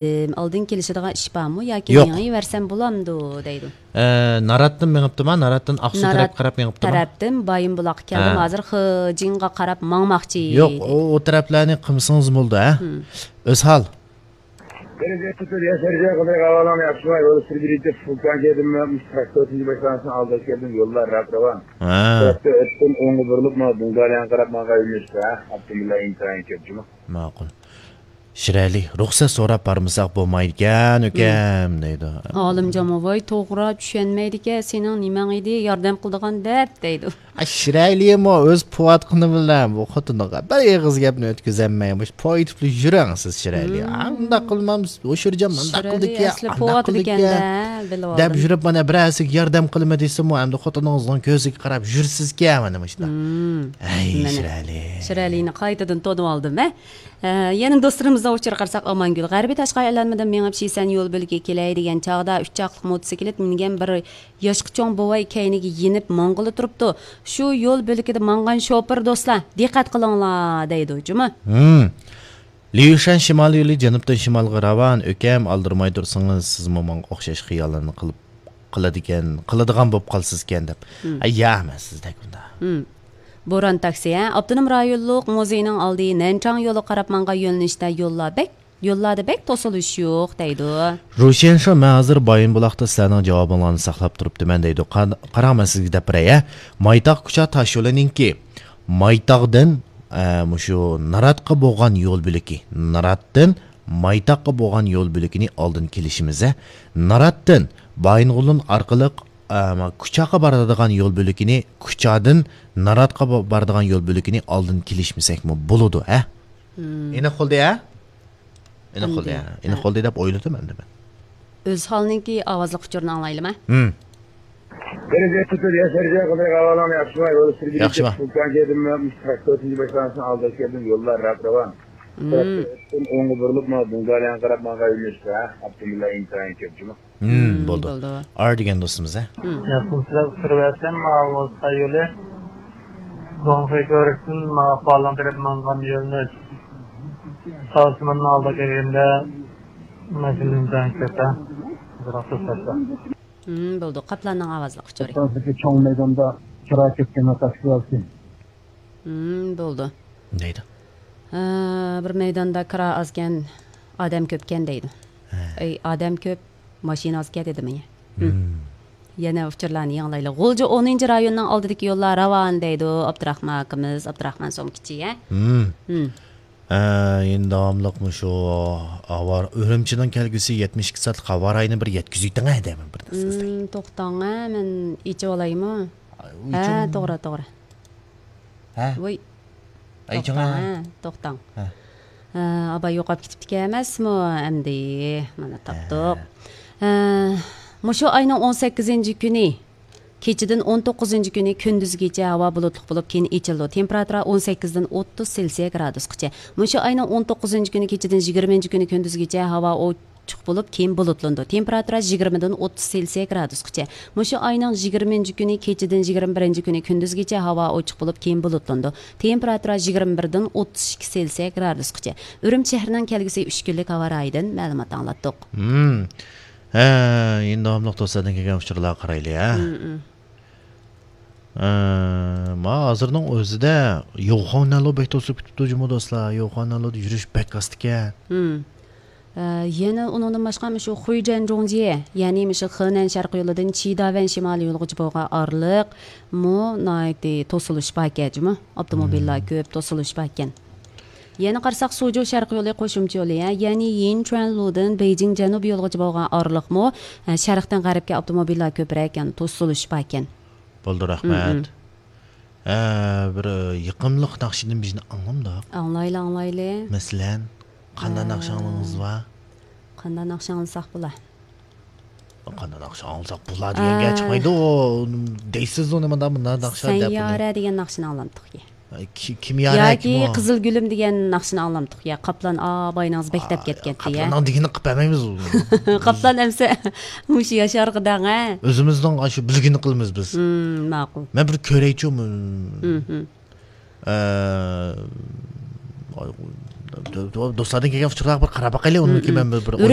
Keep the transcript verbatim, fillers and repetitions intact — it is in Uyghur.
ئالدىن كېلىشىدىغان ئىش بارمۇ ياكى يوق. مېڭىۋەرسەم بولامدۇ دەيدۇ. ئە، ناراتتىن مېڭىپتىما؟ ناراتتىن ئاقسۇ نارات تەرەپكە قاراپ مېڭىپتىما؟ تەرەپتىن بايىنبۇلاققا كەلدىم. ھە. ھازىر خېجىڭغا قاراپ ماڭماقچى يوق، دەيدۇ. ئۇ، ئۇ تەرەپلەرنى قىلمىسىڭىز بولىدۇ، ھە؟ مم. ئۆزھال. بىر يەتتە تۆت ياشار جاي قىلدى، ھاۋالان ياخشىماي، ۋېلوسىپىت بىرىنچى فۇلكان كەيدىم، تۆتىنچى باشلانغۇچنىڭ ئالدىغا كەلدىم، يوللار راك راۋان. ھە. تەرەپتە ئۆتتۈم، ئوڭغا بۇرۇلۇپ، مانا دۇڭدالياڭغا قاراپ ماڭغان يۆنىلىشتە، ھە، ئاپتوموبىللار ئىنتايىن كۆپ جۇمۇ. ماقۇل. شىرئەلى، رۇخسەت سوراپ بارمىساق بولمايدىكەن، ئۇكام، دەيدۇ. ئالىمجانمۇ، ۋاي، توغرا چۈشەنمەيدىكەن، سېنىڭ نېمەڭ ئىدى، ياردەم قىلىدىغان دەپ، دەيدۇ. ئا، شىرئەلىمۇ ئۆز پوۋاتقىنى بىلەن بۇ خوتۇنىغا بىر ئېغىز گەپنى ئۆتكۈزەلمەي، مۇشۇ پويتۇپلا يۈرۈڭ سىز، شىرئەلى. ئا، ئۇنداق قىلمامسىز، ئوشۇرجان مۇنداق قىلدىكەن، ئەسلى ئانداق پوۋاتىدىكەن قىلدىكەن دە، بىلىۋالدىم. دەپ يۈرۈپ، مانا بىرەرسىگە ياردەم قىلىمەن دېسىمۇ، ئەمدى خوتۇنىڭىزنىڭ كۆزىگە قاراپ يۈرىسىزكەن، مانا مۇشۇنداق. ئەي، مانا، شىرئەلى. شىرئەلىنى قايتىدىن تونۇۋالدىم، ھە. ئە، يەنە دوستلىرىمىزنىڭ ئۇچۇرىغا قارىساق، ئامانگۈل غەربىي تاشقى ئايلانمىدىن مېڭىپ، شىسەن يول بۆلىكىگە كېلەي دېگەن چاغدا، ئۈچ چاقلىق موتوسىكلىت مىنگەن بىر ياشقا چوڭ بوۋاي كەينىگە يېنىپ ماڭغىلى تۇرۇپتۇ. شۇ يول بۆلىكىدە ماڭغان شوپۇر دوستلار، دىققەت قىلىڭلار دەيدۇ، جۇمۇ. ھىم. ليۇشەن شىمال يولى جەنۇبتىن شىمالغا راۋان، ئۆكەم، ئالدىرىماي تۇرسىڭىز، سىزمۇ ماڭا ئوخشاش خىياللارنى قىلىپ، قىلىدىكەن، قىلىدىغان بولۇپ قالىسىزكەن دەپ. ھىم. ئەي، يا ئەمەس، سىز دەك بۇنداق. ھىم. بوران تاكسى، ھە؟ ئاپتونوم رايونلۇق مۇزېينىڭ ئالدى نەنچاڭ يولىغا قاراپ ماڭغان يۆنىلىشتە يوللار بەك، يوللاردا بەك توسۇلۇش يوق دەيدۇ. روشەن شو، مەن ھازىر بايىنبۇلاقتا سىلەرنىڭ جاۋابىڭلارنى ساقلاپ تۇرۇپتىمەن دەيدۇ. قا-، قاراڭ، مەن سىزگە دەپ بېرەي، ھە؟ مايتاغ كۇچا تاشيولىنىڭكى مايتاغدىن، ئە، مۇشۇ ناراتقا بولغان يول بۆلىكى، ناراتتىن مايتاغقا بولغان يول بۆلىكىنى ئالدىن كېلىشىمىز، ھە؟ ناراتتىن بايىنغولىن ئارقىلىق، ئە، كۇچاغا بارىدىغان يول بۆلىكىنى، كۇچادىن ناراتقا با-، بارىدىغان يول بۆلىكىنى ئالدىن كېلىشمىسەكمۇ بولىدۇ، ھە؟ مم. ئېنىق بولدى، ھە؟ ئېنىق بولدى، ئەمدى، ھە؟ ئېنىق بولدى دەپ ئويلىدىم ئەمدى مەن. ئۆزھالنىڭكى ئاۋازلىق ئۇچۇرىنى ئاڭلايلىما؟ ھىم. دەرىجە تۇتۇپ ياشار جاي قىلدى، ھاۋالان ياخشىماي، ۋېلوسىپىت ياخشىما. فۇلكان كەيدىم، تۆتىنچى باشلانغۇچنىڭ ئالدىغا كەلدىم، يوللار راك راۋان. مم. تەرەپتە ئۆتتۈم، ئوڭغا بۇرۇلۇپ، مانا دۇڭدالياڭغا قاراپ ماڭغان يۆنىلىشتە، ھە، ئاپتوموبىللار ئىنتايىن كۆپ جۇمۇ. ھىم، ھىم، بولدى. بولدى. ئار دېگەن دوستىمىز، ھە؟ ھىم. ياقىن سىلەر ئۇچۇرۇۋەتسەم، ماۋۇ ساي يولى. دوڭخۇي كۆۋرۈكتىن ماۋۇ ئاقبالىڭ تەرەپ ماڭغان يۆنىلىش. ساۋسىماننىڭ ئالدىغا كەلگەندە، ماشىنا ئىنتايىن كۆپ، ھە؟ بىراق توساتتا. ھىم، بولدى. قاپلاننىڭ ئاۋازلىق ئۇچۇرى. ئوتتۇرىسىدىكى چوڭ مەيداندا كىرا كەتكەن ۋەقەسى بار. ھىم، بولدى. دەيدۇ. ھە، بىر مەيداندا كىرا ئازكەن، ئادەم كۆپكەن دەيدۇ. ھە. ئەي، ئادەم كۆپ، ماشىنا ئازكەن دېدىم يە. ھىم. ھىم. يەنە ئۇچۇرلارنى ياڭلايلى. غۇلجا ئونىنچى رايوننىڭ ئالدىدىكى يوللار راۋان دەيدۇ ئابدۇراخمان ئاكىمىز، ئابدۇراخمان سومكىچى، ھە؟ ھىم. ھىم. ئە، يەنە داۋاملىق مۇشۇ ئاۋارە، ئۈرۈمچىنىڭ كەلگۈسى يەتمىش ئىككى سائەتلىك خاۋا رايىنى بىر يەتكۈزۈۋېتىڭ ھە دەيمەن بىر دەستىدە. ھىم، توختاڭ ھە، مەن ئېچىۋالايمۇ؟ ھە، توغرا، توغرا. ھە؟ ۋوي. ئەي، توختاڭ، ھە، توختاڭ. ھە. ھە، ئاباي يوقاپ كېتىپتىكەن ئەمەسمۇ ئەمدى؟ مانا تاپتۇق. ھە. ھە، مۇشۇ ئاينىڭ ئون سەككىزىنچى كۈنى كېچىدىن ئون توققۇزىنچى كۈنى كۈندۈزگىچە ھاۋا بۇلۇتلۇق بولۇپ، كېيىن ئېچىلىدۇ. تېمپېراتۇرا ئون سەككىزدىن ئوتتۇز سېلسىيە گرادۇسقىچە. مۇشۇ ئاينىڭ ئون توققۇزىنچى كۈنى كېچىدىن يىگىرمىنچى كۈنى كۈندۈزگىچە ھاۋا ئوچۇق بولۇپ، كېيىن بۇلۇتلىنىدۇ. تېمپېراتۇرا يىگىرمىدىن ئوتتۇز سېلسىيە گرادۇسقىچە. مۇشۇ ئاينىڭ يىگىرمىنچى كۈنى كېچىدىن يىگىرمە بىرىنچى كۈنى كۈندۈزگىچە ھاۋا ئوچۇق بولۇپ، كېيىن بۇلۇتلىنىدۇ. تېمپېراتۇرا يىگىرمە بىردىن ئوتتۇز ئىككى سېلسىيە گرادۇسقىچە. ئۈرۈمچى شەھىرىنىڭ كەلگۈسى ئۈچ كۈنلۈك ھاۋا رايىدىن مەلۇمات ئاڭلاتتۇق. ھىم. ھە، يەنە داۋاملىق دوستلاردىن كەلگەن ئۇچۇرلارغا قارايلى، ھە. ھىم، ھىم. ئە، ما ھازىرنىڭ ئۆزىدە يوخانەلو بەك توسۇپ كېتىپتۇ جۇمۇ دوستلار. يوخانەلودا يۈرۈش بەك ئاستىكەن. ھىم. ئە، يەنە ئۇنىڭدىن باشقا مۇشۇ خۇيجەن جۇڭجيې، يەنى مۇشۇ خېنەن شەرقىي يولىدىن چىداۋەن شىمالىي يولىغىچە بولغان ئارىلىق مۇ ناھايىتى توسۇلۇش باركەن جۇمۇ. ئاپتوموبىللار ھىم. كۆپ، توسۇلۇش باركەن. يەنە قارىساق، سۇجۇ شەرقىي يولى قوشۇمچە يولى، ھە، يەنى يىنچۈەنلۇدىن بېيجىڭ جەنۇبىي يولىغىچە بولغان ئارىلىقمۇ، ھە، شەرقتىن غەربكە ئاپتوموبىللار كۆپرەك، يەنى توسۇلۇش باركەن. بولدى، ھىم، رەھمەت. ھىم. ھە، بىر، ئە، يېقىملىق ناخشىدىن بىرنى ئاڭلامدۇق؟ ئاڭلايلى، ئاڭلايلى. مەسىلەن، قانداق ھە. ناخشا ئاڭلىغىڭىز بار؟ قانداق ناخشا ئاڭلىساق بولا؟ قانداق ناخشا ئاڭلىساق بولا دېگەن گەپ ئە. چىقمايدۇ. ئۇ دەيسىزۇ، نېمانداق مۇنداق ناخشا دەپ بۇنى. سەييارە دېگەن ناخشىنى ئاڭلامدۇق. ئاي، كى-، كىم يارە، ياكى كىم ئۇ؟ قىزىل گۈلۈم دېگەن ناخشىنى ئاڭلامدۇق يا. قاپلان ئاۋاينىڭىز بەك دەپ ئاي، كەتكەنتى يا. قاپلاننىڭ دېگىنىنى قىلىپ بەرمەيمىز. قاپلان ئەمسە مۇشۇ ياشارغىداڭ ھە. ئۆزىمىزنىڭ ئاشۇ بىلگىنىنى قىلىمىز بىز. ھىم، ماقۇل. مەن بىر كۆرەيچۇ. ھىم، ھىم. ئە، دو- دو- دوستلاردىن كەلگەن ئۇچۇرلارغا بىر قاراپ باقايلى، ئۇنىڭ كېيىن مەن بىر، بىر ئويلاپ